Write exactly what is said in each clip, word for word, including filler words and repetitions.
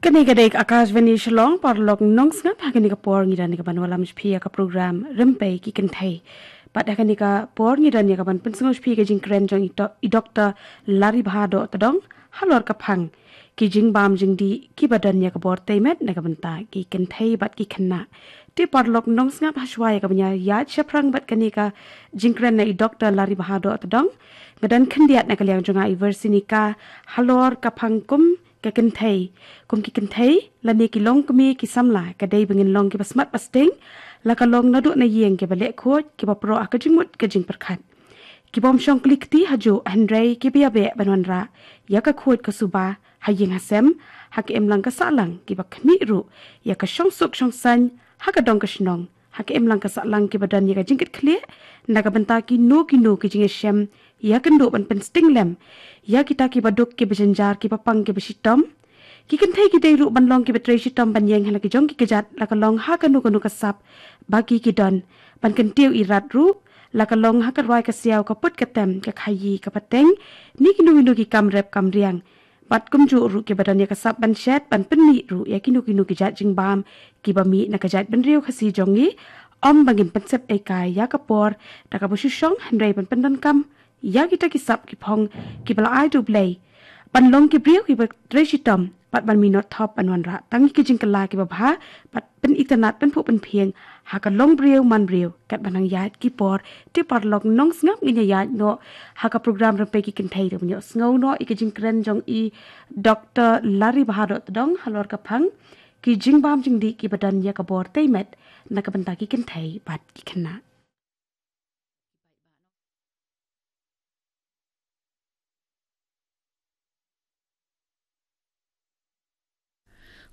Kane ka dei ka Akashvani Shillong, paralok nongsngap, ha kane ka por ngi don ïa ka ban wallam sha phi ïa ka program Rympei ki Kynthei. Bad ha kane ka por ngi don ïa ka ban pynsngew sha phi ka jingkren jong i to-, i Doktor Laribha Dohtdong, halor ka phang ki jingbam jingdih kiba don ïa ka bor tei met na ka bynta ki kynthei bad ki khynnah. Te paralok nongsngap, hashwa ïa ka ban ïaid shaphrang bad kane ka jingkren na i Doktor Laribha Dohtdong, nga don khyndiat na ka liang jong nga i Versinika, halor ka phang kum ka kynthei, kum ki kynthei, lane ki longkmie ki samla, ka dei ba ngin long kiba smat ba sting, la ka long naduh na ïing kiba leh khuid, kiba proh ha ka jingmut ka jingpyrkhat. Ki bym shong kli kti hajuh, hynrei kiba ïabeh ban wanrah ïa ka khuid ka suba ha ïing ha sem, ha ka imlang ka sahlang, kiba khmih ruh ïa ka shongsuk shongsaiñ ha ka dong ka shnong, ha ka imlang ka sahlang, kiba don ïa ka jingkitkhlieh na ka bynta kino kino ki jingïashem ïakynduh ban pynsting lem ïa kita kiba duk, kiba jynjar, kiba pang, kiba shitom. Ki kynthei ki dei ruh ban long kiba trei shitom ban ïeng ha la ki jong ki kjat, la ka long ha kano kano ka sap ba ki ki don, ban kyntiew irat ruh, la ka long ha ka rwai ka siaw, ka put ka tem, ka khaïi, ka pateng, ne kino kino ki kam rep kam riang. Bad kumjuh ruh kiba don ïa ka sap ban shet, ban pynmih ruh ïa kino kino ki jait jingbam kiba mih na ka jaitbynriew Khasi jong ngi, ym ba ngin pynsep ei kai ïa ka por da kaba shu shong, hynrei ban pyndonkam ïa kita ki sap ki phong kiba la ai da U Blei, ban long ki briew kiba trei shitom, bad ban mih nongthop, ban wanrah tang ïa ki jingkylla kiba bha, bad pynitynnad, pynphuh pynphieng ha ka long briew man briew katba nang ïaid ki por. Te paralok nongsngap, ngin ïa ïaid noh ha ka program Rympei ki Kynthei, da ban ïohsngew noh ïa ka jingkren jong i Doktor Laribha Dohtdong halor ka phang ki jingbam jingdih kiba don ïa ka bor tei met na ka bynta ki kynthei bad ki khynnah.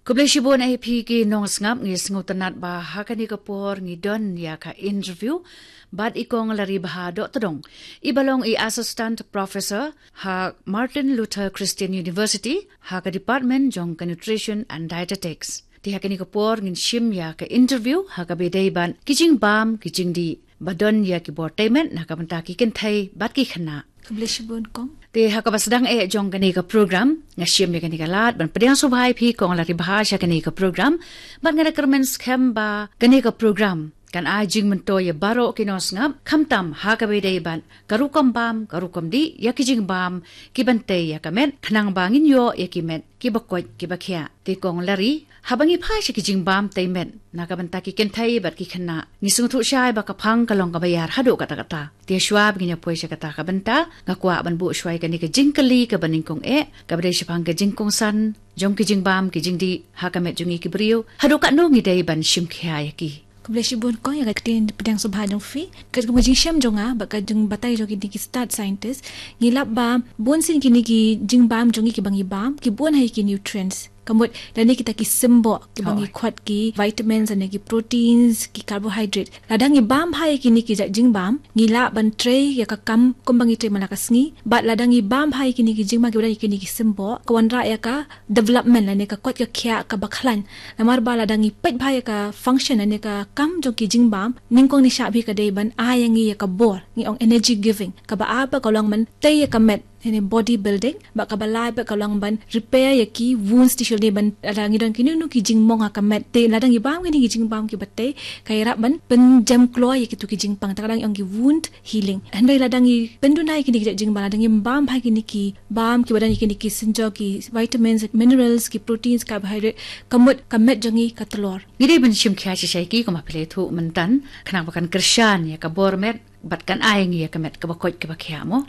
Khublei shibun ïa phi ki nongsngap, ngi sngewtynnat ba ha kane ka por ngi don ïa ka interview bad i Kong Laribha Dohtdong, iba long i Assistant Professor ha Martin Luther Christian University, ha ka department jong ka Nutrition and Dietetics. Te ha kane ka por ngin shim ïa ka interview ha kaba ïadei bad ki jingbam ki jingdih ba don ïa ki bor tei met na ka bynta ki kynthei bad ki khynnah. Khublei shibun, Kong. Te ha kaba sdang eh jong kane ka program, nga shim ïa kane ka lad ban pdiang sngewbha ïa phi Kong Laribha sha kane ka program, bad nga da kyrmen skhem ba kane ka program kan ai jingmyntoi ïa baroh ki nongsngap, khamtam ha kaba ïadei bad ka rukom bam, ka rukom dih ïa ki jingbam kiban tei ïa ka met, khnang ba ngin ïoh ïa ki met kiba koit kiba khiah. Te Kong Lari, haba ngi phai sha ki jingbam tei met na ka bynta ki kynthei bad ki khynnah, ngi sngewthuh shai ba ka phang ka long kaba ïar haduh katta katta. Te shuwa ba ngin ïa poi sha kata ka bynta, nga kwah ban buh shuwa ïa kane ka jingkylli kaba nyngkong eh, kaba dei shaphang ka jingkongsan jong ki jingbam ki jingdih ha ka met jong ngi ki briew, haduh katno ngi dei ban shim khia ïa ki. Khublei shibun, Kong, ïa ka ktien pdiang sngewbha jong phi. Katkum ka jingshem jong nga bad ka jingbatai jong kine ki stad scientist, ngi lap ba bun sien kine ki jingbam jong ngi kiba ngi bam ki bun ha ki nutrients. Ka mut lane kita ki symboh kiba ngi khot ki vitamins lane ki proteins, ki carbohydrate. Lada ngi bam bha ïa kine ki jait jingbam, ngi lah ban trei ïa ka kam kumba ngi trei man la ka sngi. Bad lada ngi bam bha ïa kine ki jingbam kiba don ïa kine ki symboh, ka wanrah ïa ka development lane ka koit ka khiah kaba khlaiñ. Namar ba lada ngi peit bha ïa ka function lane ka kam jong ki jingbam, nyngkong nyngkong ka dei ban ai ïa ngi ïa ka bor, ngi ong energy giving, kaba ai ba ka long ban tei ïa ka met, lane body building, bad kaba lai bad ka long ban repair ïa ki wounds tissue, lane ban lada ngi don kino kino ki jingmong ha ka met. Te lada ngi bam kine ki jingbam kiba tei, ka ïarap ban pynjem kloi ïa kito ki jingpang, te ka dang ong ki wound healing. Hynrei lada ngi pynduna ïa kine ki jait jingbam, lada ngi bam bha ïa kine ki bam kiba don ïa kine ki synjor, ki vitamins, minerals, ki proteins, carbohydrate, ka mut ka met jong ngi ka tlor. Ngi dei ban shim khia shisha ïa ki kumba phi la ïathuh mynta, khnang ba kan kyrshan ïa ka bor met bad kan ai ngi ïa ka met kaba koit kaba khiah mo.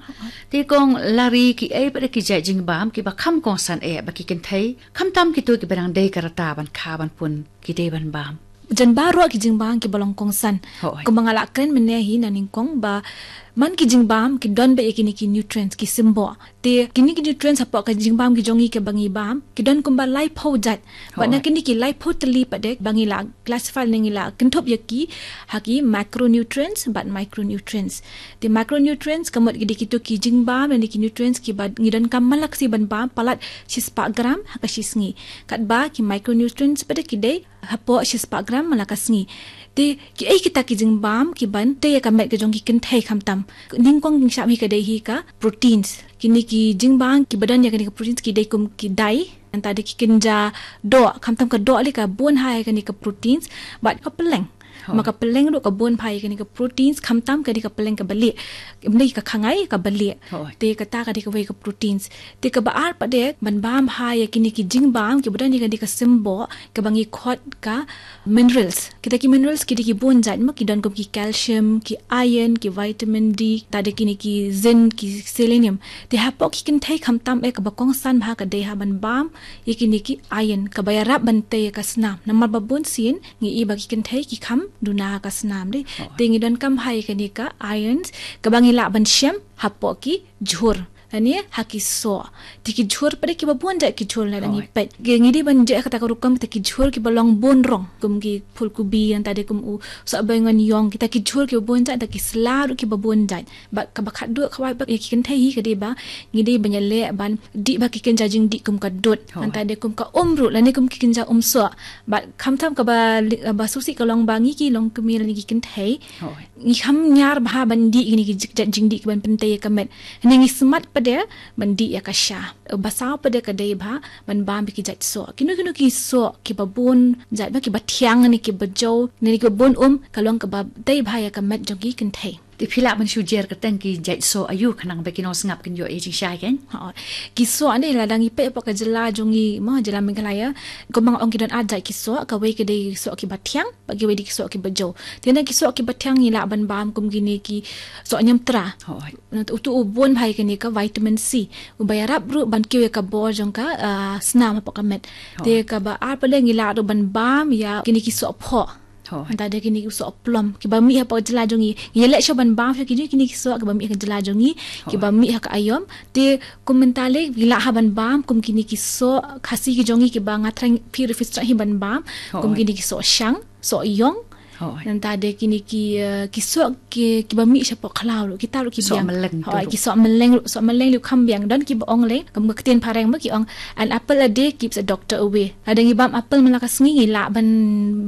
Te Kong Lari, kiei pat de ki jait jingbam kiba kham kongsan eh ba ki kynthei, khamtam kito kiba dang dei ka rta ban kha ban pun, ki dei ban bam? Jan baroh ki jingbam kiba long kongsan. Hooid. Kumba nga la kren mynne hi na nyngkong ba man ki jingbam ki don beit ïa kine ki nutrients, ki symboh. Te kine ki nutrients hapoh ka jingbam ki jong ngi kiba ngi bam, ki don kumba laiphew jait. Bad na kine ki laiphew tylli pat de ba ngi la classify ne ngi la kynthup ïa ki ha ki macronutrients bad micronutrients. Te macronutrients ka mut ki dei kito ki jingbam ne ki nutrients kiba ngi donkam man la ka sngi ban bam palat shispah gram ha ka shi sngi. Katba ki micronutrients pat de ki dei hapoh shispah gram man la ka sngi. Te kiei kita ki jingbam kiban tei ïa ka met ka jong ki kynthei khamtam? Nyngkong jingshah hi ka dei hi ka proteins. Kine ki jingbam kiba don ïa kine ki proteins ki dei kum ki dai. Nangta dei ki kynja doh, khamtam ka doh lei ka bun ha ïa kine ki proteins. Bad ka pylleng. Hooid. Ma ka pylleng ruh ka bun bha ïa kine ki proteins, khamtam ka dei ka pylleng kaba lieh. Ym dei ka khangai, kaba lieh. Hooid. Te kata ka dei kawei ka proteins. Te kaba ar pat dei ban bam bha ïa kine ki jingbam kiba don ïa kine ki symboh, kaba ngi khot ka minerals. Kita ki minerals ki dei ki bun jait, ma ki don kum ki calcium, ki iron, ki vitamin D, nangta dei kine ki zinc, ki selenium. Te hapoh ki kynthei khamtam eh kaba kongsan bha ka dei ha ban bam ïa kine ki iron, kaba ïarap ban tei ïa ka snam. Namar ba bun sien ngi i ba ki kynthei ki kham duna ha ka snam dei. Oh. Te ngi donkam bha ïa kane ka irons, kaba ngi lah ban shem hapoh ki jhur. Lane ha ki soh. Te ki jhur pat dei kiba bun jait ki jhur lada ngi peit. Ngi dei ban jied ha kata ka rukom kita ki jhur kiba long bun rong. Kum ki phulkubi, nangta dei kum u soh baingon ïong, kita ki jhur kiba bun jait, nangta ki sla ruh kiba bun jait. Bad kaba khatduh kaba bha ïa ki kynthei hi ka dei ba ngi dei ban ïaleh ban dih bha ki kynja jingdih kum ka dud. Hooid. Nangta dei kum ka um ruh, lane kum ki kynja um soh. Bad khamtam kaba li-, ba sngewsih ka long ba ngi ki longkmie lane ki kynthei. Hooid. Ngi kham ñiar bha ban dih kine ki jik-, jait jingdih kiban pyntei ïa ka met. Hynrei ngi smat pat de ban dih ïa ka sha. Ba saw pat de ka dei bha ban bam ïa ki jait soh. Kino kino ki soh kiba bun jait, ba kiba thiang ne kiba jew ne kiba bun um, ka long kaba tei bha ïa ka met jong ki kynthei. Te phi lah ban shu jer kyrteng ki jait soh aïu khnang ba ki nongsngap kin ïoh ïa jingshisha kein? Hooid. Ki soh ne lada ngi peit hapoh ka jylla jong ngi, mo, jylla Meghalaya. Kumba nga ong ki don ar jait ki soh, kawei ka dei soh kiba thiang, bad kiwei dei ki soh kiba jew. Te na ki soh kiba thiang ngi lah ban bam kum kine ki soh ñiamtra. Hooid. Utu u bun bha ïa kane ka vitamin C. Uba ïarap ruh ban kiew ïa ka bor jong ka, ah, snam hapoh ka met. Hooid. Te kaba ar pat de ngi lah ruh ban bam ïa kine ki soh phoh. Hooid. Nangta dei kine ki soh plum. Kiba mih hapoh jylla jong ngi. Ngi leh shuh ban bam shuh kine, kine ki soh kiba mih ha ka jylla jong ngi. Hooid. Kiba mih ha ka aïom. Te kum mynta lei ngi lah ha ban bam kum kine ki soh Khasi ki jong ngi kiba nga thrang phi ruh phi sngewthuh hi ban bam. Hooid. Kum kine ki soh shang, soh ïong. Hooid. Nangta dei kine ki, eh, ki soh ki, kiba mih shapoh khlaw ruh, kita ruh ki biang. Soh mylleng. Hooid, ki soh mylleng ruh, soh mylleng ruh kham biang. Don kiba ong lei, kum ka ktien phareng ba ki ong, "An apple a day keeps a doctor away." Lada ngi bam apple man la ka sngi ngi lah ban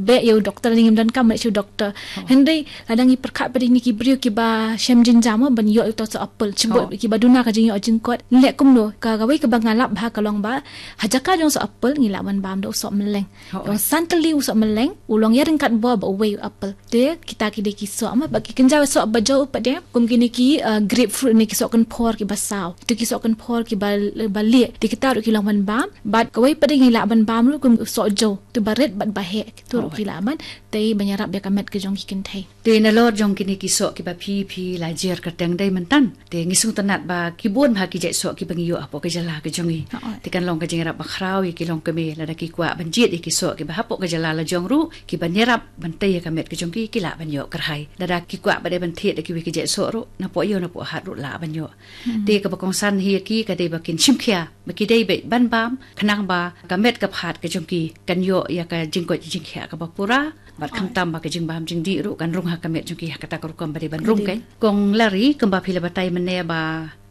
beh ïa u doktor, ngim donkam ban leit sha u doktor. Hooid. Hynrei lada ngi pyrkhat pat de kine ki briew kiba shem jynjar mo ban ïoh ïa uto u soh apple. Shibun kiba duna ka jingïoh jingkot. Leh kumno, ka, kawei kaba nga lap bha ka long ba ha jaka jong u soh apple ngi lah ban bam da u soh mylleng. Hooid. Ïa u san tylli u soh mylleng, u long ïaryngkat bor bad uwei u apple. Te kita ki dei ki soh, ma bad ki kynja soh ba jew pat de, kum kine ki, eh, grapefruit ne ki soh kynphor kiba saw. Te ki soh kynphor kiba, ba lieh. Te kita ruh ki long ban bam. Bad kawei pat de ngi lah ban bam ruh kum u soh jew. Te ba rit bad ba heh. Kito ruh ki lah ban tei ban ïarap ïa ka met ka jong ki kynthei. Te nalor jong kine ki soh kiba phi, phi la jer kyrteng dei mynta. Te ngi sngewtynnat ba ki bun bha ki jait soh kiba ngi ïoh hapoh ka jylla ka jong ngi. Hooid. Te kan long ka jingïarap bakhraw ïa ki longkmie lada ki kwah ban jied ïa ki soh kiba hapoh ka jylla la jong ruh, kiban ïarap ban tei ïa ka met ka jong ki, ki lah ban ïoh kyrhai. Lada ki kwah pat de ban thied ïa kiwei ki jait soh ruh, napoh ïew napoh hat ruh lah ban ïoh. Hmm. Te kaba kongsan hi ïa ki ka dei ba kin shim khia, ba ki dei beit ban bam, khnang ba ka met ka phad ka jong ki kan ïoh ïa ka jingkoit jingkhiah kaba pura. Bad khamtam ba ka jingbam jingdih ruh kan rung ha ka met jong ki ha kata ka rukom ba dei ban rung kein. Kong Lari, kumba phi la batai mynne ba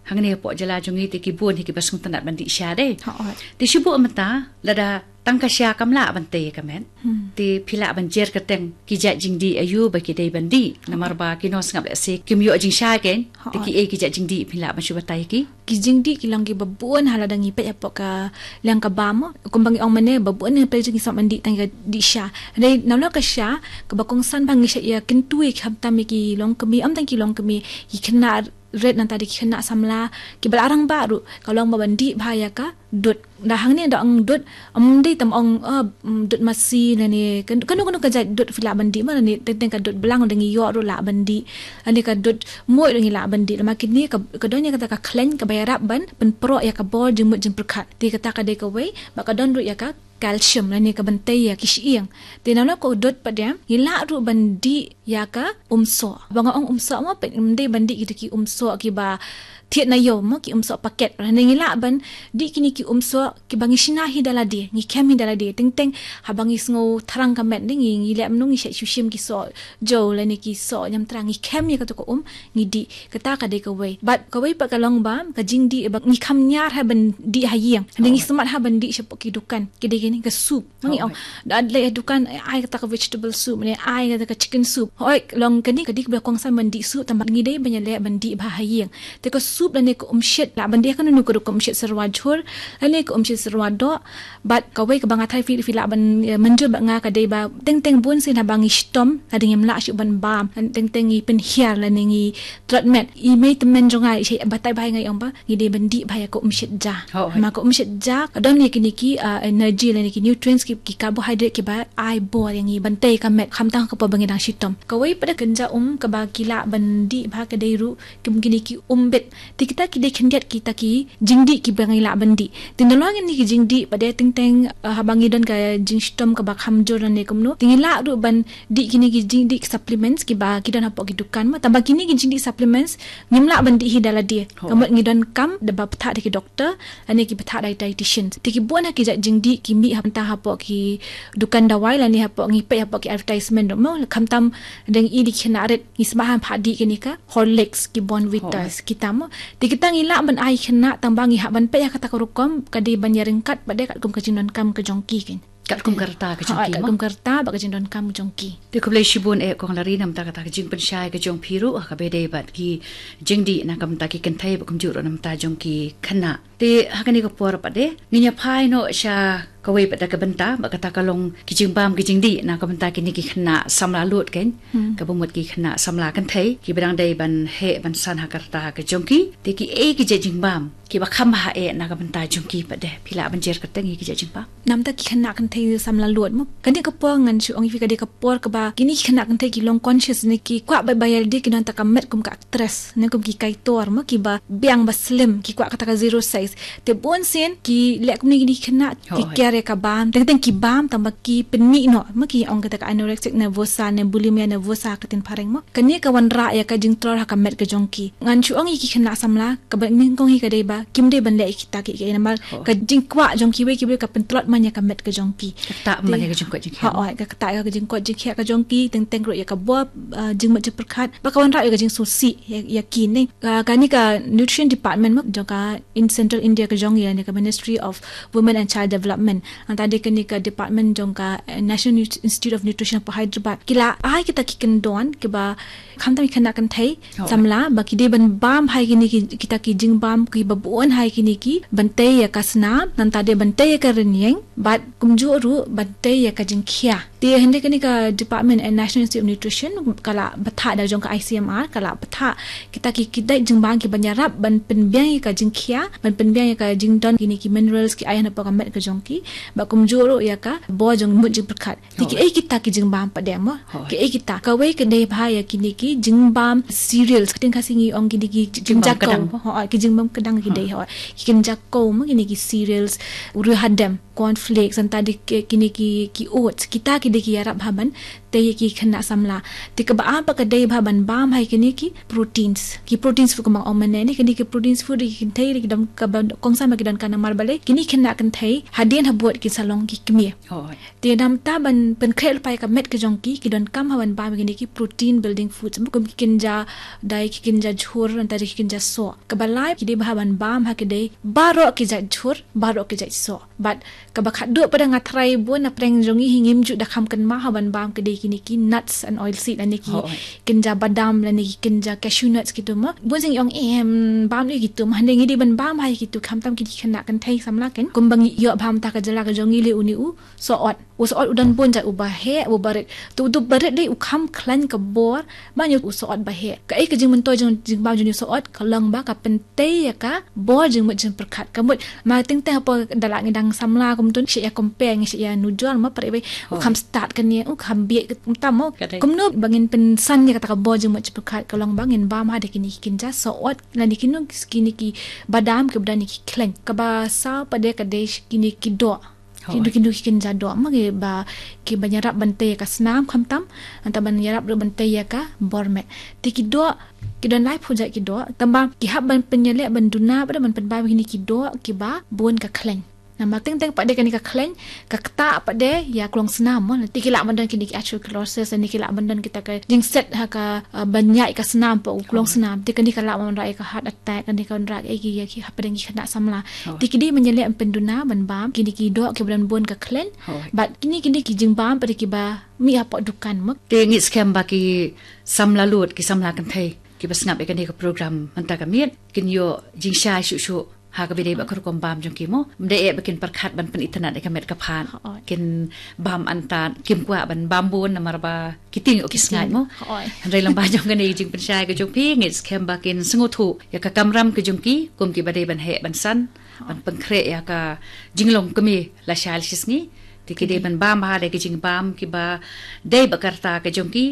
hangne hapoh jylla jong ngi te ki bun hi kiba sngewtynnat ban dih sha dei. Hooid. Te shibun mynta lada tang ka sha kam lah ban tei ka met. Hmm. Te phi lah ban jer kyrteng ki jait jingdih aïu ba ki dei ban dih. Namar ba ki nongsngap lehse kim ïoh jingshisha kein. Te ki ei ki jait jingdih phi lah ban shu batai ki. Ki jingdih ki long kiba bun ha lada ngi peit hapoh ka liang ka bam. Kumba ngi ong mynne ba bun ngi peit jong ngi sngap ban dih tang ka dih sha. Hynrei nalor ka sha kaba kongsan ba ngi shait ïa kyntu ïa khamtam ïa ki longkmie, ym tang ki longkmie, ki khynnah rit nangta dei ki khynnah samla kiba la rangbah ruh ka long ba ban dih bha ïa ka dud. Da hangne da ong dud, ym dei tam ong, eh, mm, dud masi lane kan, kano kano ka jait dud phi lah ban dih ma lane teng teng ka dud blang da ngi ïoh ruh lah ban dih. Lane ka dud muid ruh ngi lah ban dih. Lama kine ka, ka don ïa kata ka khleiñ kaba ïarap ban pynproh ïa ka bor jingmut jingpyrkhat. Te kata ka dei kawei, bad ka don ruh ïa ka calcium lane kaban tei ïa ki shyieng. Te nalor ka dud pat de ngi lah ruh ban dih ïa ka um soh. Ba nga ong um soh mo peit ym dei ban dih kita ki um soh kiba thied na ïew mo, ki umsoh paket. Hynrei ngi lah ban dih kine ki umsoh kiba ngi shna hi da lade, ngi khem hi da lade. Teng teng haba ngi sngew thrang ka met, ngi, ngi leh mynno, ngi shait shu shim ki soh jew lane ki soh ñiamtra, ngi khem ïa kato ka um, ngi dih. Kata ka dei kawei. Bad kawei pat ka long ba ka jingdih ba ngi kham ñiar ha ban dih ha ïing. Hynrei ngi smat ha ban dih shapoh ki dukan. Ki dei kine ka soup. Ngi ong, da leit ha dukan, ai kata ka vegetable soup, ne ai kata ka chicken soup. Hooid, long kane ka dei kaba kongsan ban dih soup, tangba ngi dei ban ïaleh ban dih bha ha ïing. Te ka soup lane ka umshit, lah ban dih ha kano kano ka rukom, umshit syrwa jhur lane ka umshit syrwa doh. Bad kawei kaba nga tharai phi, phi lah ban, eh, mynjur bad nga, ka dei ba teng teng bun sien haba ngi shitom, lada ngim lah shuh ban bam, teng teng ngi pynhiar lane ngi tlot met. I mei tymmen jong nga i shait batai bha ïa nga, i ong ba ngi dei ban dih bha ïa ka umshit ja. Hooid. Ma ka umshit ja ka don ïa kine ki, ah, energy lane ki nutrients, ki, ki carbohydrate kiba ai bor ïa ngi ban tei ka met, khamtam ha ka por ba ngi dang shitom. Kawei pat ka kynja um kaba ki lah ban dih bha ka dei ruh kum kine ki umbit. Te kita ki dei khyndiat kita ki jingdih kiba ngi lah ban dih. Te nalor kine ki jingdih pat de, teng teng, ah, haba ngi don ka jingshitom kaba kham jur lane kumno, te ngi lah ruh ban dih kine ki jingdih supplements kiba ki don hapoh ki dukan mo. Tangba kine ki jingdih supplements ngim lah ban dih hi da lade. Hooid. Ka mut ngi donkam da ba pynthah da ki doktor lane ki pynthah da ki dietitian. Te ki bun ha ki jait jingdih ki mih ha, mynta hapoh ki dukan dawai lane hapoh, ngi peit hapoh ki advertisement ruh mo, khamtam dang i dei ki khynnah rit, ngi smat ha ban dih kane ka Horlicks, ki Bournvitas, kita mo. Te kita ngi lah ban ai khynnah, tangba ngi hap ban peit ha kata ka rukom, ka dei ban ïaryngkat bad de katkum ka jingdonkam ka jong ki, kan. Katkum ka rta ka jong ki mo. Katkum ka rta bad ka jingdonkam ka jong ki. Te khublei shibun, eh, Kong Lari, namar kata ka jingpynshai ka jong phi ruh ha kaba ïadei bad ki jingdih na ka bynta ki kynthei bad kumjuh ruh na ka bynta jong ki khynnah. Te ha kane ka por pat de ngin ïa phai noh sha kawei pat de ka bynta, bad kata ka long ki jingbam ki jingdih na ka bynta kine ki khynnah samla lud, kan. Hmm. Kaba mut ki khynnah samla kynthei kiba dang dei ban heh ban san ha ka rta ka jong ki. Te kiei ki jait jingbam kiba kham bha eh na ka bynta jong ki pat de, phi lah ban jer kyrteng ïa ki jait jingbam? Namar ki khynnah kynthei samla lud mo, kane ka por ngan shu ong ïa phi ka dei ka por kaba kine ki khynnah kynthei ki long conscious ne ki kwah beit ba ïa lade kin don tang ka met kum ka actress ne kum ki kaitor mo, kiba biang ba slim, ki kwah kata ka zero size. Te bun sien ki leh kumne, kine ki khynnah ki, hooid, kiar ïa ka bam, teng teng ki bam tangba ki pynmih noh mo, ki ong kata ka anorexia nervosa ne bulimia nervosa ha ka ktien phareng mo. Kane ka wanrah ïa ka jingtror ha ka met ka jong ki. Ngan shu ong ïa ki khynnah samla, kaba nyngkong hi ka dei ba kim dei ban leh ïa kita kiei kiei, namar, hooid, ka jingkwah jong kiwei kiwei ka pyntlot man ïa ka met ka jong ki. Ka ktah man ïa ka jingkoit jingkhiah. Hooid, ka ktah ïa ka jingkoit jingkhiah ka jong ki, teng teng ruh ïa ka bor, ah, jingmut jingpyrkhat, bad ka wanrah ïa ka jingsngewsih ïa, ïa ki ne. Ah, kane ka nutrition department mo jong ka, in Central India ka jong ngi, ne ka Ministry of Women and Child Development, nangta de kane ka department jong ka, eh, National Nut-, Institute of Nutrition of Hyderabad, ki la ai kita ki kyndon kiba khamtam ki khynnah kynthei, oh, samla, ba ki dei ban bam bha ïa kine ki, kita ki jingbam kiba bun ha ïa kine ki, ban tei ïa ka snam, nangta de ban tei ïa ka rynïeng, bad kumjuh ruh ban tei ïa ka jingkhiah. Te hynrei kane ka department, eh, National Institute of Nutrition, ka la bthah da jong ka I C M R, ka la bthah kita ki, kita ki jingbam kiban ïarap ban pynbiang ïa ka jingkhiah, ban pynbiang ïa ka jingdon kine ki minerals ki iron hapoh ka met ka jong ki, bad kumjuh ruh ïa ka bor jingmut jingpyrkhat. Te kiei kita ki jingbam pat de mo? Hooid. Kiei kita? Kawei ka dei bha ïa kine ki jingbam cereals. Ka ktien Khasi ngi ong kine ki jingbam kynja kdang. Hooid, ki jingbam kdang ki dei, hooid. Ki kynja kynja mo, kine ki cereals, u riewhadem, cornflakes, nangta de ki, kine ki, ki oats. Kita ki dei ki ïarap bha ban tei ïa ki khynnah samla. Te kaba ar pat ka dei bha ban bam ha ïa kine ki proteins. Ki proteins food kumba nga ong mynne ne, kine ki proteins food ki kynthei ki don, kaba kongsan ba ki donkam namar balei kine ki khynnah kynthei hadien habud kin sa long ki kmie. Hooid. Te namar kata ban pynkhreh lypa ïa ka met ka jong ki, ki donkam bha ban bam ïa kine ki protein building foods. Kum ki kynja dai, ki kynja jhur, nangta de ki kynja soh. Kaba lai ki dei bha ban bam ha ki dei baroh ki jait jhur, baroh ki jait soh. Bad kaba khatduh pat de nga tharai bun na pdeng jong ngi hi ngim ju da kham kynmaw ha ban bam ki dei kine ki nuts and oil seed, lane ki, hooid, kynja badam, lane ki kynja cashew nuts kitu mo. Bun sien ngi ong, em, bam ïa kitu mo, hynrei ngi dei ban bam ha ïa kitu, khamtam kine ki khynnah kynthei samla, kan. Kumba ngi ïoh bam ha ka jylla ka jong ngi, lei une u sohot. U sohot u don bun jait, uba heh, uba rit. Te utu ba rit dei u kham khlaiñ ka bor ban ïa u sohot ba heh. Kaei ka jingmyntoi jong, jingbam jong u sohot? Ka long ba ka pyntei ïa ka bor jingmut jingpyrkhat. Ka mut ma teng teng hapoh da la ngi dang samla kumtu, ngi shait ïa compare, ngi shait ïa nujor mo, pyrshah ba u kham stad kane, u kham bieit kumta mo. Ka dei. Kumno ba ngin pynsan ïa kata ka bor jingmut jingpyrkhat? Ka long ba ngin bam ha de kine ki kynja sohot, lane kino, kine ki badam kiba don ïa ki khlaiñ. Kaba saw pat de ka dei kine ki doh. Ki duk ki duk ki kynja doh ma ki ba ki ban ïarap ban tei ïa ka snam khamtam, nangta ban ïarap ruh ban tei ïa ka bor met. Te ki doh ki don lai phew jait ki doh, tangba ki hap ban pynïaleh ban duna pat de ban pynbam kine ki doh kiba bun ka khleiñ. Namar teng teng pat de kane ka khleiñ ka ktah pat de ïa klong snam mo. Te ki lah ban don kine ki atherosclerosis, ne ki lah ban don kita ka jingset ha ka, uh, ban ïaid ka snam pat u klong snam. Te kane ka lah ban rah ïa ka heart attack, kane ka lah ban rah ïa ki, ïa ki hapdeng ki khynnah samla. Te ki dei ban ïaleh ban pynduna ban bam kine ki doh kiba don bun ka khleiñ. Bad kine kine ki jingbam pat de kiba mih hapoh dukan mo. Te ngi skhem ba ki samla lut, ki samla kynthei kiba sngap ïa kane ka program mynta ka miet kin ïoh jingshai shuh shuh ha kaba ïadei bad ka rukom bam jong ki mo. Ym dei eh ba kin pyrkhat ban pynitynnad ïa ka met ka phad. Kin bam antad, kim kwah ban bam bun namar ba ki tieng ïoh ki sngaid mo. Hynrei lyngba jong kane ka jingpynshai ka jong phi ngi skhem ba kin sngewthuh ïa ka kamram ka jong ki kum kiba dei ban heh ban san, ban pynkhreh ïa ka jinglong kmie lashai lashisngi. Te ki dei ban bam bha da ki jingbam kiba dei bad ka rta ka jong ki.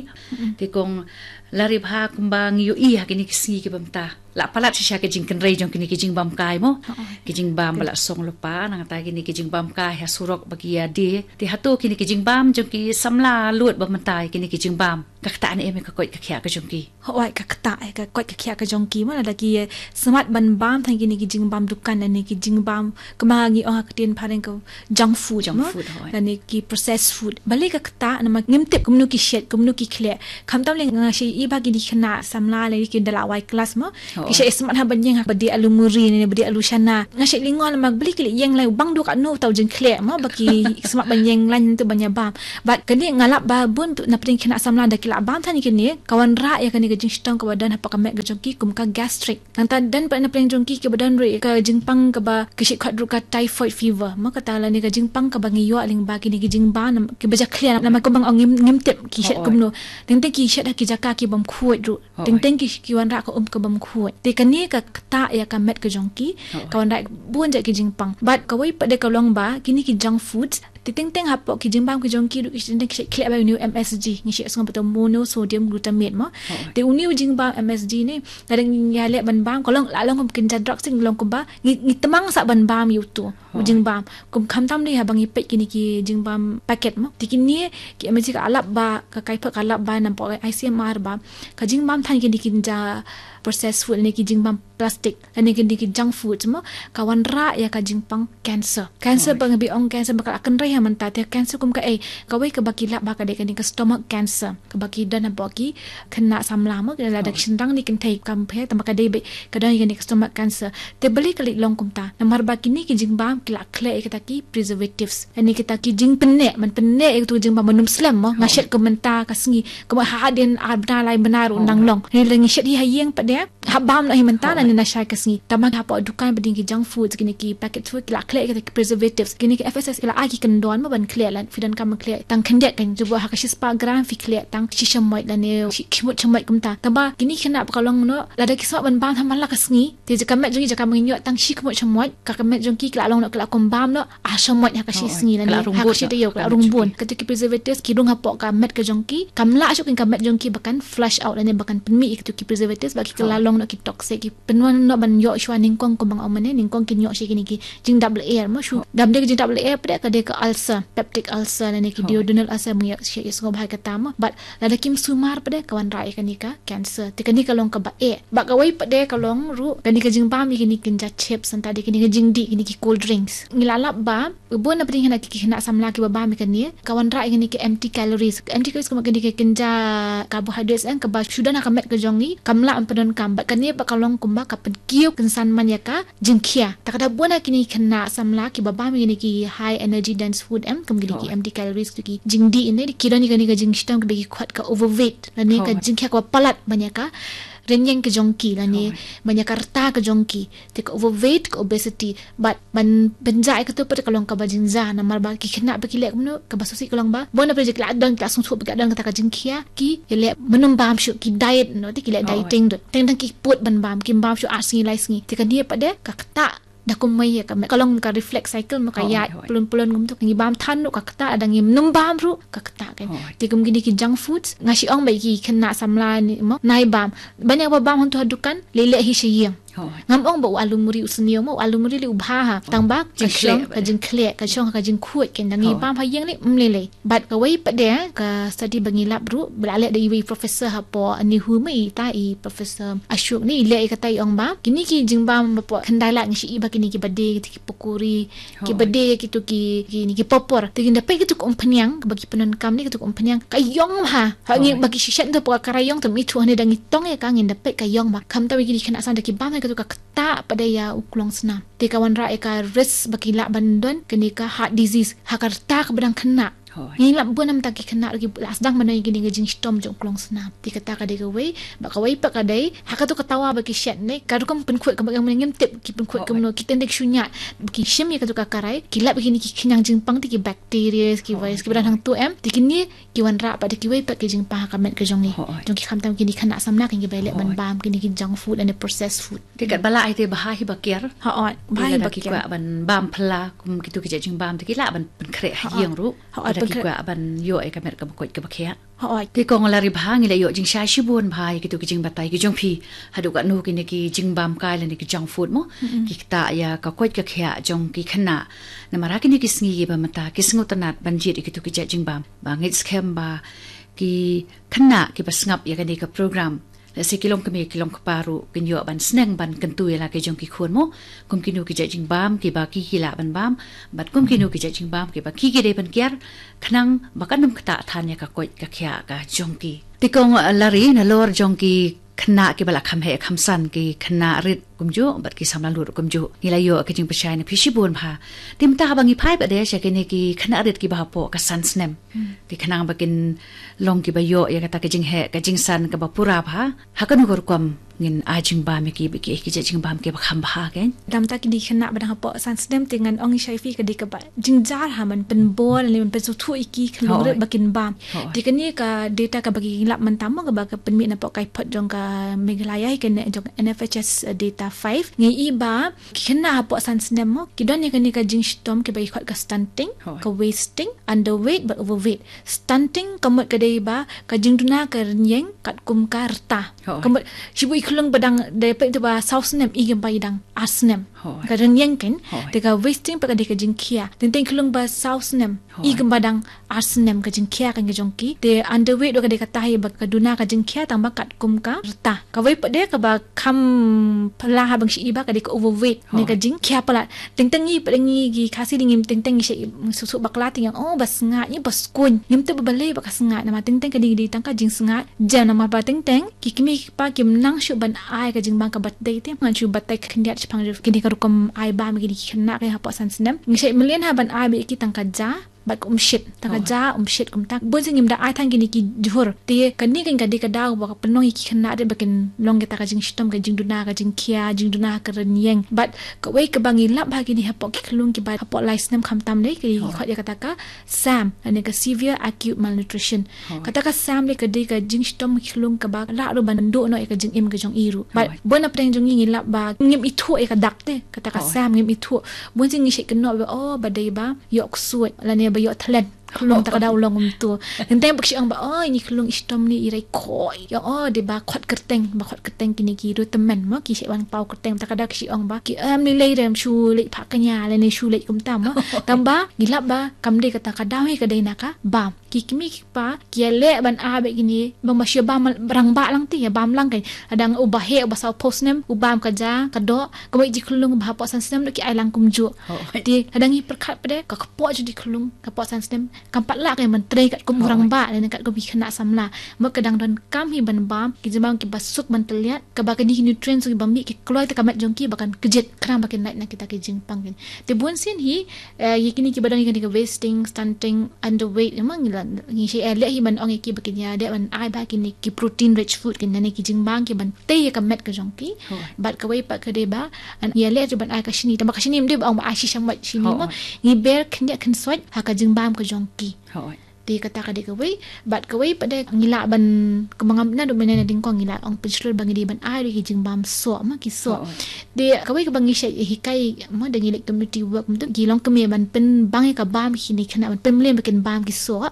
Te kong lari bha kumba ngi ïohi ha kine ki sngi kiba mynta, la palat shisha ki jingkynrei jong kine ki jingbam kai mo. Ki jingbam ba la song lypa, nangta kine ki jingbam kai ha surok ba ki ïa die. Te hato kine ki jingbam jong ki samla lut ba mynta, kine ki jingbam ka ktah ne em ïa ka koit ka khiah ka jong ki? Hooid, ka ktah ïa ka koit ka khiah ka jong ki mo, lada ki, eh, smat ban bam tang kine ki jingbam dukan ne ki jingbam, kumba ngi ong ha ka ktien phareng ka junk food mo, ne ki processed food. Balei ka ktah? Namar ngim tip kumno ki shet, kumno ki khleh. Khamtam lei nga shait ïohi ba kine ki khynnah samla lei ki da la wai klas mo, ki shait smat ha ban ïeng ha ba die alu muri ne ba die alu shana. Nga shait lyngngoh namar balei ki leit ïeng lai, bang dei katno uta u jingkhleh mo ba ki smat ban ïeng lai nangta ban ïa bam. Bad kane nga lap ba bun napdeng ki khynnah samla da ki la bam tang kine, ka wanrah ïa kane ka jingshitom kaba don hapoh ka met ka jong ki kum ka gastric. Nangta don pat napdeng jong ki kiba don ruh ïa ka jingpang kaba ki shait khot ruh ka typhoid fever mo, kata lane ka jingpang kaba ngi ïoh lyngba kine ki jingbam kiba jakhlia namar kumba nga ong ngim, ngim tip ki shet kumno. Teng teng ki shet ha ki jaka ki bym khuid ruh. Teng teng ki, ki wanrah ka um ka bym khuid. Te kane ka ktah ïa ka met ka jong ki, ka wanrah bun jait ki jingpang. Bad kawei pat de ka long ba kine ki junk foods, te teng teng hapoh ki jingbam ki jong ki ruh ki shait, ki shait khleh ba ïa une u M S G, ngi shait sngew ba uta u monosodium glutamate mo. Te une u jingbam M S G ne, lada ngi ïaleh ban bam, ka long, la long kum kynja drug seh, long kumba ngi, ngi tymmen sa ban bam ïa uto u jingbam. Kum khamtam dei haba ngi peit kine ki jingbam packet mo. Te kine ki M S G ka lap ba, ka Kaiphod ka lap ba napoh I C M R ba ka jingbam tang kine ki kynja processed food ne ki jingbam plastic lane kine ki junk food mo, ka wanrah ïa ka jingpang cancer. Cancer ba ngi ong cancer ba ka la kynrei ha mynta, te cancer kum kaei? Kawei kaba ki lap ba ka dei kane ka stomach cancer kaba ki don hapoh ki khynnah samla mo, lada ki shynrang ne kynthei kam pher, tangba ka dei ba ka don kane ka stomach cancer. Te balei ka leit long kumta? Namar ba kine ki jingbam ki la khleh ïa kita ki preservatives, lane kita ki jingpynneh, ban pynneh ïa kito ki jingbam ban ym slem mo. Nga shet ka mynta ka sngi, kumba hadien ar bnai lai bnai ruh nang long. Lane lada ngi shet hi ha ïing pat de, hap bam noh hi mynta lane na shai ka sngi. Tangba hapoh dukan ba dei ki junk foods, kine ki packet food, ki la khleh kita ki preservatives. Kine ki F S S ki la ai ki kyndon mo ban khleh, lada phi donkam ban khleh tang khyndiat kan, jubor ha ka shispah gram phi khleh tang shi shamoit lane shi khmut shamoit kumta. Tangba kine ki khynnah ba ka long noh, lada ki smat ban bam ha man la ka sngi, te jaka met jong ki, jaka ba ngin ïoh tang shi khmut shamoit, ka, ka met jong ki ki la long noh, ki la kum bam noh ar shamoit ha ka shi sngi lane ha ka shi taïew, ka la rung bun. Kito ki preservatives ki rung hapoh ka met ka jong ki, kam lah shuh ïa ka met jong ki ba kan flush out lane ba kan pynmih ïa kito ki preservatives, ba ki, ki la long noh ki toxic, ki pynwan noh ban ïoh shuwa nyngkong, kumba nga ong mynne, nyngkong kin ïoh shuwa kine ki jingdap lyer mo, shu. Dam dei ka jingdap lyer pat de, ka dei ka ulcer, peptic ulcer lane ki duodenal ulcer, ngi ïoh shuwa, ïohsngew bha ïa kata mo. Bad lada kim sumar pat de ka wanrah ïa kane ka cancer. Te kane ka long kaba eh. Bad kawei pat de ka long ruh kane ka jingbam ïa kine ki kynja chips, nangta de kine ki jingdih, kine ki cold drinks. Ngi la lap ba bun napdeng kine ki khynnah samla kiba bam ïa kane, ka wanrah ïa kine ki empty calories. Empty calories kumba kine ki kynja carbohydrates, eh, kaba shu don ha ka met ka jong ngi, kam lah ban pyndonkam. Bad kane pat ka long kumba ka pynkiew kynsan man ïa ka jingkhia. Te kata bun ha kine ki khynnah samla kiba bam ïa kine ki high energy dense food, em, kum kine ki empty calories, ki jingdih ne, ki don ïa kane ka jingshitom kaba ki khot ka overweight lane ka jingkhia kaba palat ban ïa ka rynïeng ka jong ki lane ban ïa ka rta ka jong ki. Te ka overweight, ka obesity, bad ban pynjah ïa kato pat ka long kaba jingjia, namar ba ki khynnah ba ki leh kumno, kaba sngewsih ka long ba bun napdeng jong ki la don, ki la sngewthuh ba ki la don kata ka jingkhia, ki ïaleh ban ym bam shuh, ki diet noh, te ki leh dieting ruh. Teng teng ki put ban bam, kim bam shuh ar sngi lai sngi. Te kane pat de ka ktah da kumwei ïa ka met, ka long ka reflex cycle mo, ka ïaid pyllun pyllun kumto. Ngi bam than ruh ka ktah, lada ngim bam ruh ka ktah kan. Te kum kine ki junk foods, nga shu ong ba ki khynnah samla ne mo, nai bam, ban ïa ba bam hangto ha dukan, leit leh hi sha ïing. Ngam ong ba u alu muri u sniew mo, u alu muri lei u bha ha. Tang ba ka jingkhleh shong, ka jingkhleh, ka shong, ka jingkhuid, kan dang ngi bam ha ïing lei, mm, lei lei. Bad kawei pat de, ka study ba ngi lap ruh, ba la leh da iwei i professor hapoh NEHU mo, ita i Professor Ashok ne, i leh ïa kata, i ong ba kine ki jingbam ba hapoh khyndai lad ngi shu i ba kine ki ba die, ki pokori, ki ba die, kito ki, ki, ki popor. Te ngin da peit kito ki umphniang, ba ki pyndonkam ne kito ki umphniang, ka ïong bha. Ha ngi ba ki shisha to hapoh ka rai ïong, te mi thu hane da ngi tong ïa ka, ngin da peit ka ïong bha. Khamtam ïa kine ki khynnah samla da ki bam ïa kito ka ktah pat de ïa u klongsnam. Te ka wanrah ïa ka risk ba ki lah ban don kane ka heart disease ha ka rta kaba dang khynnah. Ngi lap bun namar ki khynnah ruh ki la sdang ban don ïa kine ki jingshitom jong u klongsnam. Te kata ka dei kawei, bad kawei pat ka dei ha kato ka tawa ba ki shet ne, ka rukom pynkhuid kaba ngim tip ki pynkhuid kumno, ki teng teng shu ñiah, ba ki shim ïa kato ka karai, ki lap ïa kine ki khñiang jingpang, te ki bacteria, ki virus, ki ba dang hangto em, te kine ki wanrah pat de kiwei pat ki jingpang ha ka met ka jong ngi. Jong ki, khamtam kine ki khynnah samla, kine ki ba ïaleh ban bam kine ki junk food and the processed food. Te katba lah hi te bha hi ba kiar. Hooid, bha hi ba kiar. Lada ki kwah ban bam phylla kum kito ki jait jingbam, te ki lah ban pynkhreh ha ïing ruh. Hooid, lada ki kwah ban ïoh ïa ka met kaba koit kaba khiah. Hooid. Te kong Lari, bha ngi la ïoh jingshai shibun bha ïa kito ki jingbatai ki jong phi. Haduh katno kine ki jingbam kai lane ki junk food mo, ki ktah ïa ka koit ka khiah jong ki khynnah. Namar ha kine ki sngi kiba mynta ki sngewtynnat ban jied ïa kito ki jait jingbam. Ba ngeit skhem ba ki khynnah kiba sngap ïa kane ka program, lehse ki long kmie ki long kpa ruh, kin ïoh ban sneng ban kyntu ïa la ki jong ki khun mo, kum kino ki jait jingbam kiba ki, ki lah ban bam, bad kum kino ki jait jingbam kiba ki, ki dei ban kiar, khnang ba kan ym ktah than ïa ka koit ka khiah ka jong ki. Te kong, eh, Lari, nalor jong ki khynnah kiba la kham heh kham san, ki khynnah rit kumjuh bad ki samla lut kumjuh, ngi la ïoh ka jingpynshai na phi shibun bha. Te mynta haba ngi phai pat de sha kine ki khynnah rit kiba hapoh ka san snem, te khnang ba kin long kiba ïoh ïa kata ka jingheh ka jingsan kaba pura bha, ha kano ka rukom ngin ai jingbam ïa ki, ba ki, ki jait jingbam kiba kham bha, kan? Namar kine ki khynnah ba dang hapoh san snem, te ngan ong sha phi, ka dei kaba jynjar ha ban pynbor ne ban pynsngewthuh ïa ki khynnah rit ba kin bam. Te kane ka data kaba ngi lap mynta mo, kaba ka pynmih napoh ka report jong ka Meghalaya, kane jong NFHS, eh, data five, ngi i ba ki khynnah hapoh san snem mo, ki don ïa kane ka jingshitom kiba ki khot ka stunting, ka wasting, underweight bad overweight. Stunting ka mut ka dei ba ka jingduna ka rynïeng katkum ka rta. Ka mut shibun i khyllung ba dang dei peit te ba saw snem, i kumba i dang ar snem. Ka rynïeng, kan? Te ka wasting pat ka dei ka jingkhia. Teng teng khyllung ba saw snem, i kumba dang ar snem, ka jingkhia kan ka jong ki. Te underweight ruh ka dei kata hi ba ka duna ka jingkhia tang ba katkum ka rta. Kawei pat de kaba kham phylla haba ngi shu i ba ka dei ka overweight ne ka jingkhia palat. Teng teng ngi pat de ngi ki Khasi de ngim, teng teng ngi shu i suk suk bakla, te ngi ong, oh, ba sngaid, ngi ba skuiñ. Ngim tip ba balei ba ka sngaid, namar teng teng ka dei, dei tang ka jingsngaid. Jan namar ba teng teng ki kmie ki kpa kim nang shuh ban ai ka jingbam kaba dei te, ngan shu batai khyndiat shaphang kine ka rukom ai bam ïa kine ki khynnah hapoh san snem. Ngi shait mlien ha ban ai beit ïa ki tang ka ja bad ka umshit. Tang ka ja, umshit kumta. Bun sien ngim da ai than kine ki jhur. Te kane kan ka dei ka daw ba ka pynlong ïa ki khynnah rit ba kin long kita ka jingshitom, ka jingduna ka jingkhia, jingduna ka rynïeng. Bad kawei kaba ngi lap ha kine hapoh ki khyllung kiba hapoh lai snem khamtam de, ki khot ïa kata ka SAM, lane ka severe acute malnutrition. Kata ka SAM de ka dei ka jingshitom ki khyllung kaba lah ruh ban duh noh ïa ka jingim ka jong i ruh. Bad bun na pdeng jong ngi ngi lap ba ngim ithuh ïa ka dak te, kata ka SAM ngim ithuh. Bun sien ngi shait kynnoh ba, oh, ba dei ba ïoh ksuid lane ba ïoh thlen. Khyllung ta ka daw long kumto. Teng teng ba ki shu ong ba, oh, ini khyllung i shitom ne i rai khoi. Ïa, oh, dei ba khot kyrteng, ba khot kyrteng kine ki riew tymmen mo, ki shait wan paw kyrteng, ta ka daw ki shu ong ba ki em lei lei, rem shu leit phah kñia lane shu leit kumta mo. Tang ba ngi lap ba kam dei kata, ka daw hi ka dei na ka bam. Ki kmie ki kpa ki ïaleh ban ai beit kine, bang ba shu bam rangbah lang te, ïa bam lang, kan. Hadang uba heh, uba saw phew snem, u bam ka ja ka doh, ka mut ïa ki khyllung ba hapoh san snem ruh ki ai lang kumjuh. Te hadang ngi pyrkhat pat de, ka kpoh jong ki khyllung hapoh san snem kam pat lah ka ban trei katkum u rangbah lane katkum ki khynnah samla. Mut ka dang donkam hi ban bam ki jingbam kiba suk ban tylliat, kaba kine ki nutrients kiba mih ki kloi te ka met jong ki ba kan kjit, khnang ba kin lait na kita ki jingpang, kan. Te bun sien hi, eh, ïa kine kiba don ïa kane ka wasting, stunting, underweight, ïa ma ngi la, ngi shait, eh, leh hi ban ong ïa ki ba kin ïa dei ban ai bha kine ki protein rich food, kine ki jingbam ki ban tei ïa ka met ka jong ki. Bad kawei pat ka dei ba ngi ïaleh ruh ban ai ka shini. Tang ba ka shini ym dei ba ong ba ai shisha mo, shini mo, ngi ber khyndiat khynsoit ha ka jingbam ka jong ki. Te Te kata ka dei kawei, bad kawei pat de ngi lah ban, kumba ngam naduh mynne na ding kong ngi lah ong pynshlur ba ngi dei ban ai ruh ki jingbam soh, ma ki soh. Te kawei kaba ngi shait hikai, ma da ngi leh community work, mynta ki longkmie ban pynbang ïa ka bam kine ki khynnah, ban pynmlien ba kin bam ki soh.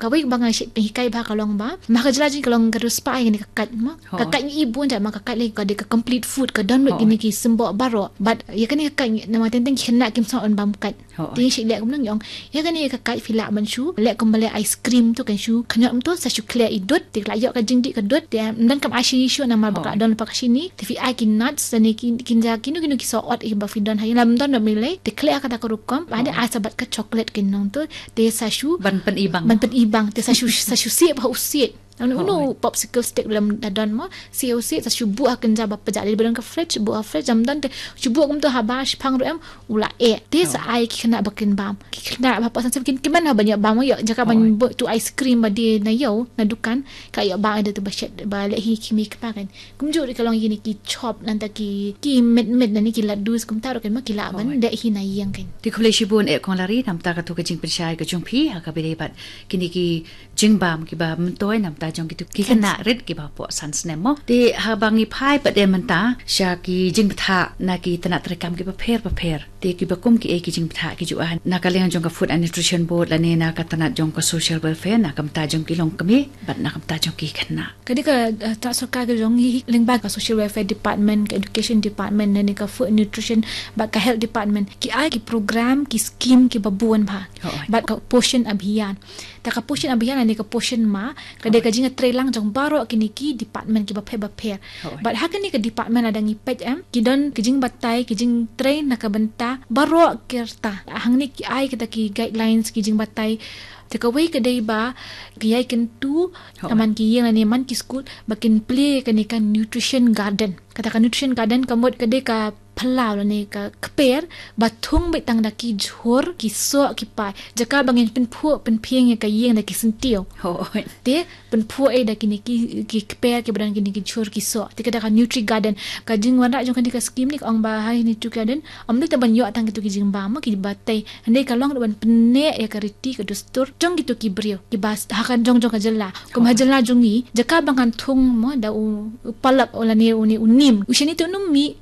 Kawei kaba ngi shait pynhikai bha ka long ba, ma ka jylla jong ngi ka long ka riewspah ïa kane ka kait, ma ka kait ngi i bun jait, ma ka kait lei ka dei ka complete food, ka don lut kine ki symboh baroh. Bad ïa kane ka kait namar teng teng ki khynnah kim sngewbha ban bam kait. Te ngi shait leh kumno, ngi ong, ïa kane ka kait phi lah ban shu leh kumba leh ice cream, to kan shu khñiot, to sa shu khleh i dud, te la ïoh ka jingdih ka dud, te ym don kam ai shini shuh namar ba ka don lypa ka shini. Te phi ai ki nuts, lane ki, kynja kino kino ki soh ot kiba phi don ha ïing, lada ym don ruh ym lei, te khleh ha kata ka rukom, bad ai sa bad ka chocolate, kin ong, to te sa shu ban pynibang, ban pynibang, te sa shu, sa shu siej bha u siej. Ong, uno u popsicle stick lem da don, mo, siej u siej, sa shu buh ha kynja ba pjah, lada ba don ka fridge, buh ha fridge, ym don te shu buh kumto haba shiphang ruh em, u la eh. Te sa ai ki khynnah ba kin bam. Ki khynnah ba pop san sem kin kmen ha ban ïoh bam, ïoh jaka ban buh tu ice cream ba die na ïew na dukan, ka ïoh bam da tu ba shet ba leh hi ki mei kpa kan. Kumjuh ruh ka long ïa kine ki chop, nangta ki, ki mit mit, lane ki laddus kumta ruh kan, ma ki lah ban leh hi na ïing kan. Te khublei shibun eh Kong Lari namta katu ka jingpynshai ka jong phi ha kaba ïadei bad kine ki jingbam kiba myntoi namta jong kitu ki khynnah rit kiba hapoh san snem, mo. Te haba ngi phai pat de mynta sha ki jingbthah na ki tnat treikam kiba pher bapher, te kiba kum kiei ki jingbthah ki ju ai na ka liang jong ka Food and Nutrition Board lane na ka tnat jong ka Social Welfare, na ka bynta jong ki longkmie bad na ka bynta jong ki khynnah? Ka dei ka, eh, tnat sorkar ka jong ngi lyngba ka Social Welfare Department, ka Education Department, lane ka Food and Nutrition bad ka Health Department ki ai ki program, ki skim kiba bun bha. Bad ka Poshan Abhiyan. Te ka Poshan Abhiyan lane ka Poshan Ma, ka dei ka jingïatreilang jong baroh kine ki department kiba pher bapher. Bad ha kane ka department lada ngi peit em, ki don ki jingbatai, ki jingtrei na ka bynta baroh ki rta. Hangne ki ai kita ki guidelines, ki jingbatai. Te kawei ka dei ba ki ïai kyntu man ki ïing lane man ki skul ba kin plie kane ka nutrition garden. Kata ka nutrition garden ka mut ka dei ka phyllaw lane ka kper ba thung beit tang da ki jhur ki soh ki pai. Jaka ba ngin pynphuh pynphieng ïa ka ïing da ki syntiew. Te pynphuh eh da kine ki, ki kper kiba don kine ki jhur ki soh. Te kata ka nutri garden. Ka jingwanrah jong kane ka skim ne ka ong ba ha nutri garden ym dei tang ban ïoh tang kitu ki jingbam, mo, kiba tei. Hynrei ka long ruh ban pynneh ïa ka riti ka dustur jong kitu ki briew kiba s-, ha ka jong jong ka jylla. Kum ha jylla jong ngi, jaka ba ngan thung, mo, da u, u palak, u lane une u nim, u shane te un ym mih.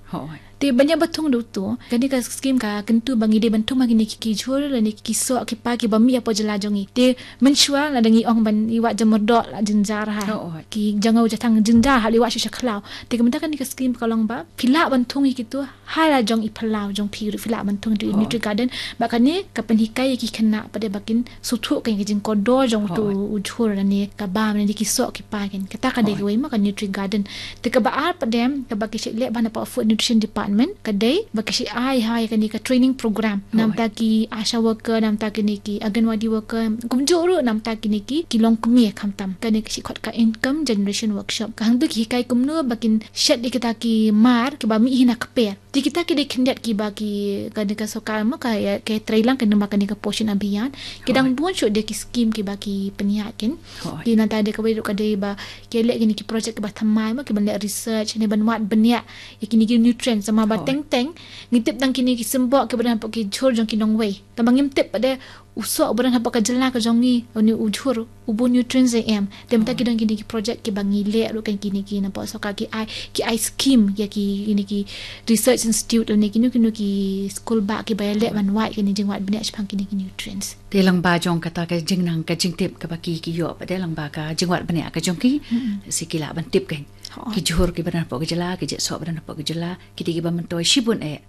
Te ban ïa ba thung da uto, kane ka skim ka kyntu ba ngi dei ban thung ma kine ki, ki jhur lane ki soh ki pai kiba mih hapoh jylla jong ngi. Te mynshuwa lada ngi ong ban ïa wad jingmyrdor la jynjar ha. Ki jong u jathang jynjar ha, la ïa wad sha sha khlaw. Te ka mynta kane ka skim ka long ba phi lah ban thung ïa kitu ha la jong i phyllaw jong phi ruh, phi lah ban thung ïa nutri garden. Bad kane ka pynhikai ïa ki khynnah pat de ba kin sngewthuh ïa ka jingkordor jong utu u jhur lane ka bam lane ki soh ki pai kan. Kata ka dei kawei, mo, ka nutri garden. Te kaba ar pat de kaba ki shait leh bha na ka Food Nutrition Department ka dei ba ki shait ai ha ïa kane ka training program namta ki ASHA worker, namta kine ki Anganwadi worker, kumjuh ruh namta kine ki, ki longkmie khamtam. Kane ki shait khot ka Income Generation Workshop. Ka hangtu ki hikai kumno ba kin shet ïa kita ki mar kiba mih hi na kper. Te kita ki dei khyndiat kiba ki, kane ka sorkar, mo, ka ïa, ka ïatreilang kane, namar kane ka Poshan Abhiyan. Ki dang bun shuh de ki skim kiba ki pynïaid kan. Te nangta de kawei ruh ka dei ba ki leh kine ki project kiba thymmai, mo, kiban leh research ne ban wad bniah ïa kine ki nutrients, namar ba teng teng ngi tip tang kine ki symboh kiba don hapoh ki jhur jong ki nongwei. Tangba ngim tip pat de u soh uba don hapoh ka jylla ka jong ngi, une u jhur, u bun nutrients eh em. Te mynta ki don kine ki project kiba ngi leh ruh kan, kine ki napoh sorkar ki ai, ki ai skim ïa ki, kine ki research institute lane kino kino ki skul bah kiba ïaleh ban wad kine, jingwad bniah shaphang kine ki nutrients. Te lyngba jong kata ka jingnang ka jingtip kaba ki, ki ïoh pat de lyngba ka jingwad bniah ka jong ki, sa ki lah ban tip kan. Ki jhur kiba don hapoh ka jylla, ki jait soh ba don hapoh ka jylla, ki dei kiba myntoi shibun eh.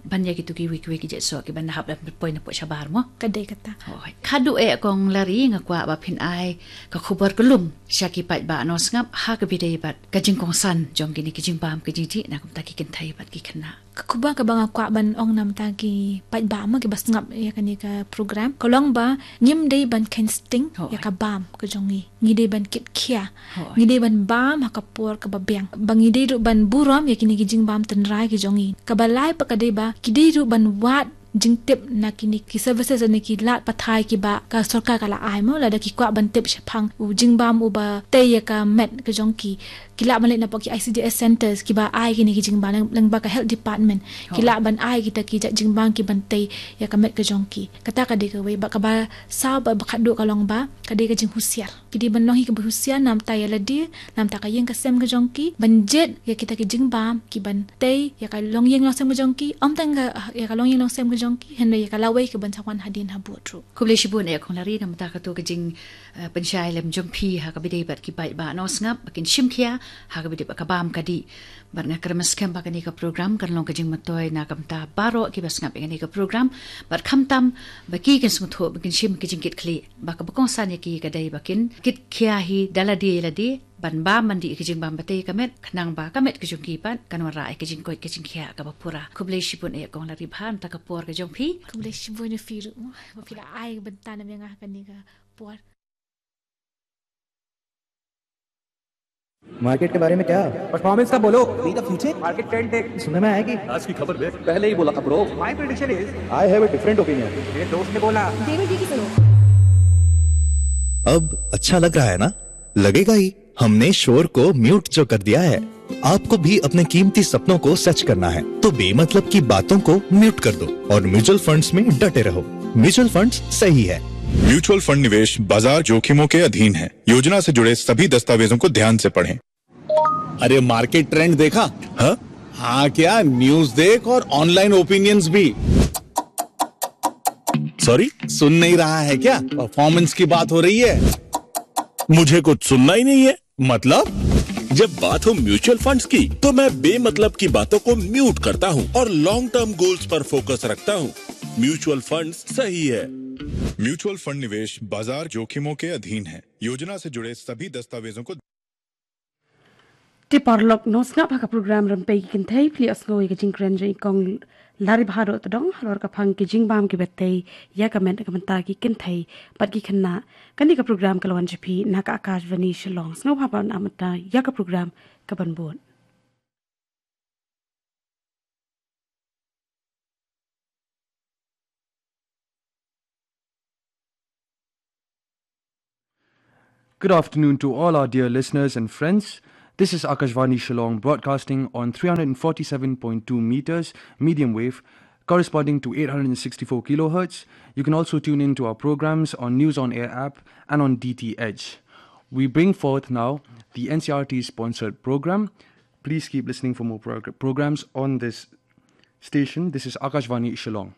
Ban ïa kitu kiwei kiwei ki jait soh kiban hap ban poi napoh shabar, mo. Ka dei kata. Khadduh eh Kong Lari, nga kwah ba phin ai ka khubor kyllum sha ki paidbah nongsngap ha kaba ïadei bad ka jingkongsan jong kine ki jingbam ki jingjih na ka bynta ki kynthei bad ki khynnah. Ka khubor kaba nga kwah ban ong namta ki paidbah, mo, kiba sngap ïa kane ka program ka long ba ngim dei ban kheiñ sting ïa ka bam ka jong ngi. Ngi dei ban kit khia. Ngi dei ban bam ha ka por kaba biang. Ba ngi dei ruh ban burom ïa kine ki jingbam tynrai ki jong ngi. Kaba lai pat ka dei ba ki dei ruh ban wad jingtip na kine ki services ne ki lad pathai kiba ka sorkar ka la ai mo, lada ki kwah ban tip shaphang u jingbam uba tei ïa ka met ka jong ki, ki lah ban leit napoh ki I C D S centers kiba ai kine ki jingbam lyngba ka health department. Ki lah ban ai kita ki jait jingbam ki ban tei ïa ka met ka jong ki. Kata ka dei kawei, bad kaba saw bad ba khatduh ka long ba ka dei ka jinghusiar. Ki dei ban long hi kaba husiar namta ïa lade, namta ka ïing ka sem ka jong ki, ban jied ïa kita ki jingbam ki ban tei ïa ka longïing longsem ka jong ki, ym tang ïa ka longïing longsem ka jong ki, hynrei ïa ka lawei ka ban sa wan hadien habud ruh. Khublei shibun ïa kong Lari namta kato ka jing, eh, pynshai lem jong phi ha kaba ïadei bad ki paidbah nongsngap ba kin shim khia ha kaba ïadei bad ka bam ka dih. Bad nga kyrmen skhem ba kane ka program kan long ka jingmyntoi na ka bynta baroh kiba sngap ïa kane ka program. Bad khamtam ba ki kin sngewthuh ba kin shim ka jingkitkhlieh ba kaba kongsan ïa ki ka dei ba kin kit khia hi da lade ïa lade, ban bam ban dih ïa ka jingbam ba tei ïa ka met, khnang ba ka met ka jong ki pat kan wanrah ïa ka jingkoit ka jingkhiah kaba pura. Khublei shibun ïa kong Lari bha namta ka por ka jong phi. Khublei shibun ïa phi ruh mo ba phi la ai bynta na ïa nga ha kane ka por. मार्केट के बारे में क्या? परफॉर्मेंस का बोलो। बी द फ्यूचर। मार्केट ट्रेंड देख। सुनने में आया कि आज की खबर देख। पहले ही बोला था ब्रो। माय प्रेडिक्शन इज। आई हैव अ डिफरेंट ओपिनियन। मेरे दोस्त ने बोला। देवर जी की सुनो। अब अच्छा लग रहा है ना? लगेगा ही। हमने शोर को म्यूट जो कर दिया है। आपको भी अपने कीमती सपनों को सच करना है, तो बेमतलब की बातों को म्यूट कर दो और म्यूचुअल फंड्स में डटे रहो। म्यूचुअल फंड्स सही है। म्यूचुअल फंड निवेश बाजार जोखिमों के अधीन है। योजना से जुड़े सभी दस्तावेजों को ध्यान से पढ़ें। अरे, मार्केट ट्रेंड देखा? हाँ? हाँ क्या, न्यूज़ देख और ऑनलाइन ओपिनियंस भी। सॉरी? सुन नहीं रहा है क्या? परफॉर्मेंस की बात हो रही है। मुझे कुछ सुनना ही नहीं है। मतलब? जब बात हो म्यूचुअल फंड्स की, तो मैं बेमतलब की बातों को म्यूट करता हूँ और लॉन्ग टर्म गोल्स पर फोकस रखता हूँ। म्यूचुअल फंड्स सही है। म्यूचुअल फंड निवेश बाजार जोखिमों के अधीन है। योजना से जुड़े सभी दस्तावेजों को Te paralok nongsngap ha ka program Rympei ki Kynthei, phi la ïohsngew ïa ka jingkren jong i kong Lari Bahadur Tdong halor ka phang ki jingbam kiba tei ïa ka met na ka bynta ki kynthei bad ki khynnah. Kane ka program ka la wan sha phi na ka Akashvani Shillong. Sngewbha ban ap mynta ïa ka program ka ban bud. Good afternoon to all our dear listeners and friends. This is Akashvani Shillong broadcasting on three hundred forty-seven point two meters medium wave, corresponding to eight hundred sixty-four kilohertz. You can also tune in to our programs on News on Air app and on D T H. We bring forth now the N C R T sponsored program. Please keep listening for more progr-, programs on this station. This is Akashvani Shillong.